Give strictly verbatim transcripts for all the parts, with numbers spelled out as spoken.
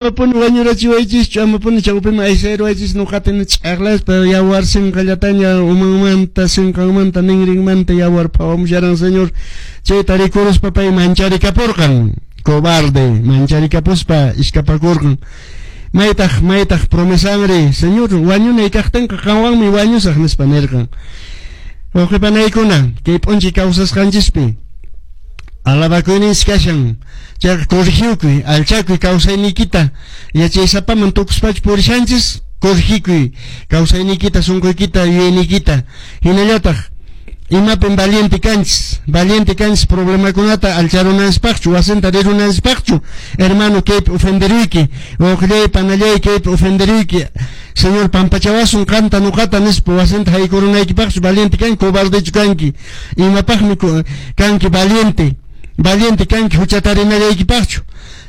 Amapuni wañurachiwaychischu, amapuni chawpiman aysayruwaychis nuqata ch'aqlaspa yawar sinqallataña umanmanta, sinqanmanta, ninrinmanta yawar phawamusharan Señor. Chayta rikuruspa pay mancharikapurqan, cobarde, mancharikapuspa iskapakurqan. Maytaq, maytaq promesanri, Señor, wañunay kaqtinqa qanwanmi wañusaq nispa nirqan. Wawqipanaykuna, kay p'unchay kawsasqanchispi alabakuyninchis kashan, chayqa corrigiukuy, alchakuy kawsayniykita, yachaysapaman tukuspachu purishanchis, corrigikuy kawsayniykita, sunquykita, yuyayniykita. Hinallataq imapin valiente kanchis, valiente kanchis problemakunata alcharunanchispaqchu, wasinta rirunanchispaqchu, hermano kaypi ofenderuyki, wawqillay panallay kaypi ofenderuyki, Señor pampachawasun qanta nuqata nispa wasinta haykurunaykipaqchu valiente kanki, cobardechu kanki, imapaqmi kanki valiente, valiente kanki huchatarinallaykipachu,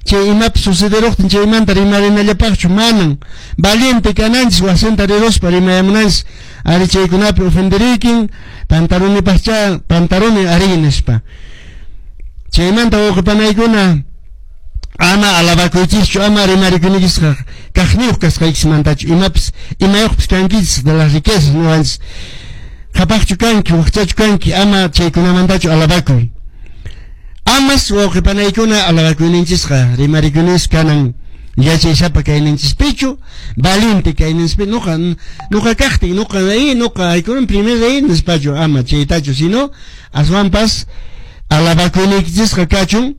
chay imapi sucederuqtin chaymanta rimarinallapaqchu, manan valiente kananchis wasinta riruspa rimayamunanchis, ari chaykunapi ofenderuykin, pantalonipaqcha pantaloni ari nispa. Chaymanta wawqipanaykuna ama alabakuychischu, ama rimarikunikisqa kaqniyuq kasqaykismantachu, imapis imayuqpis kankichis de las riquezas nuqanchis, qhapaqchu kanki, waqchachu kanki, ama chaykunamantachu alabakuy. Amas wawqipanaykuna alabakuyninchisqa rimarikuyninchis kanan yachaysapa kayninchispichu, valiente kayninchispi, nuqa nuqa kaqtin, nuqa ahí, nuqa haykunan primer ahí nispachu, ama chaytachu, sino aswanpas alabakuyniykichisqa kachun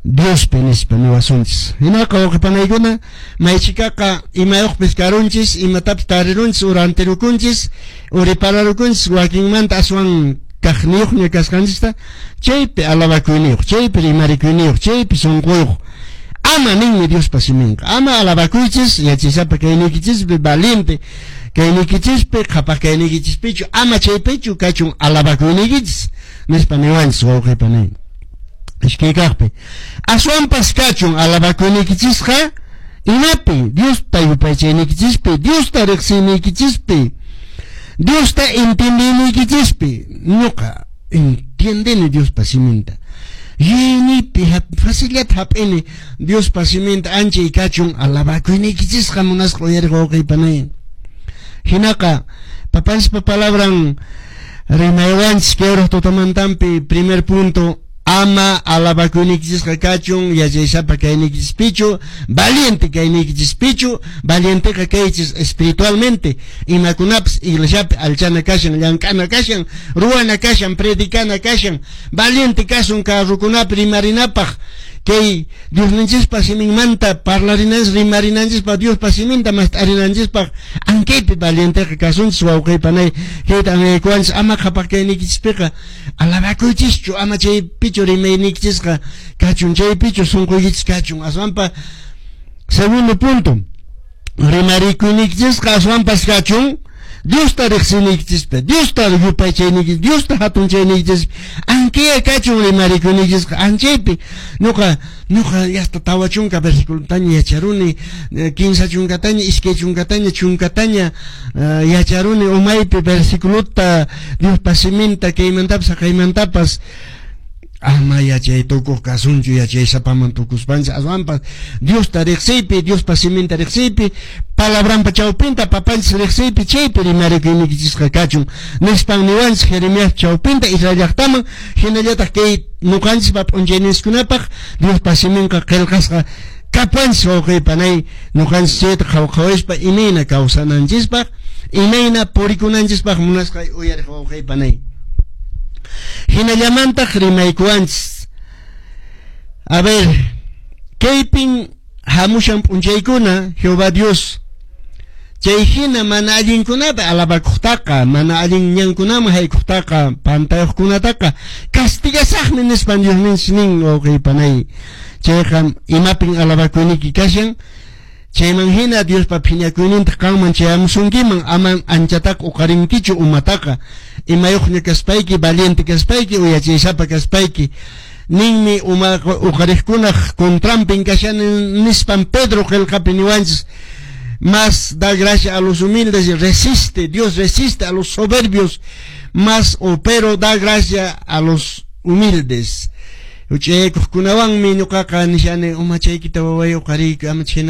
Diospi nispa niwasunchis. Hinaqa wawqipanaykuna maychikaqa imayuqpis karunchis, imatapis tarirunchis, urantirukunchis, uripararukunchis, wakinmanta aswan kaqniyuqña kasqanchista, chaypi alabakuyniyuq, chaypi rimarikuyniyuq, chaypi sunquyuq. Ama ninmi Diospa siminqa, ama alabakuychis yachaysapa kayniykichispi, valiente kayniykichispi, qhapaq kayniykichispichu, ama chaypichu kachun alabakuyniykichis nispa niwanchis wawqipanay. Iskay kaqpi aswanpas kachun alabakuyniykichisqa imapi, Diosta yupaychayniykichispi, Diosta riqsiyniykichispi, Diosta entiendeyniykinchispi. Ñuqa entiendeni Diospa siminta, yuyayniypi facillata hap'ini Diospa siminta, anchay kachun alabakuyniykichisqa munasqa uyariq wawqipanay. Hinaqa papanchispa palabran rimaywanchis kay uraq tutamantampi, primer punto, ama alabakuyniykichisqa kachun yachaysapa kayniykichispichu, valiente kayniykichispichu, valienteqa kaychis espiritualmente, imakunapis iglesiapi alchana kashan, llank'ana kashan, ruwana kashan, predicana kashan, valiente kasun carrukunapi rimarinapaq, kay Diosninchispa siminmanta parlarinanchis, rimarinanchispaq, Diospa siminta mast'arinanchispaq, ankaypi valienteqa kasunchis wawqipanay. Kayta anyaykuwanchis, ama qhapaq kayniykichispiqa alabakuychischu, ama chaypichu rimayniykichisqa kachun, chaypichu sunquykichis kachun. Aswanpa segundo punto, rimarikuyniykichisqa aswanpas kachun Diosta riqsiyniykichispi, Diosta yupaychayniykichis, Diosta hatunchayniykichispi, ankaya kachun rimarikuyniykichisqa anchaypi. Ñuqa ñuqa hasta tawa chunka versiculotaña yacharuni, kinsa chunkataña, iskay chunkataña, chunkataña yacharuni umaypi versiculota Diospa siminta, kaymantapas haqaymantapas. Ama yachay tukuq kasunchu, yachaysapaman tukuspanchis, aswanpas Diosta riqsiypi, Diospa siminta riqsiypi, palabranpa chawpinta papanchis riqsiypi, chaypi rimarikuyniykichisqa kachun nispan niwanchis Jeremías chawpinta Israel llaqtaman. Hinallataq kay nuqanchispa p'unchayninchiskunapaq Diospa siminqa qillqasqa kapuanchis wawqipanay, nuqanchis chayta qhawqhawispa imayna kawsananchispaq, imayna purikunanchispaq munasqa uyariq wawqipanay. Hinallamantaq rimaykuwanchis. A ver, kaypin hamushan p'unchaykuna Jehová Dios chay hina mana allinkunapi alabakuqtaqa, mana allin ñankunaman haykuqtaqa, pantayuqkunataqa castigasaqmi nispan Diosninchis nin wawqipanay. Chayqa imapin alabakuyniyki kashan, chayman hina Diospa phiñakuynintaq qanman chayamusunkiman, ama anchataqa uqarinkichu umataqa, imayuqña kaspayki, valiente kaspayki, uyachaysapa kaspayki, ninmi uma uqariqkunaq contranpin kashan nispan Pedro qillqapi niwanchis, más da gracia a los humildes y resiste, Dios resiste a los soberbios, más o pero da gracia a los humildes. Huch'ayaykuqkunawanmi ñuqaqa nishani umachaykita waway uqariyku ama chhayna.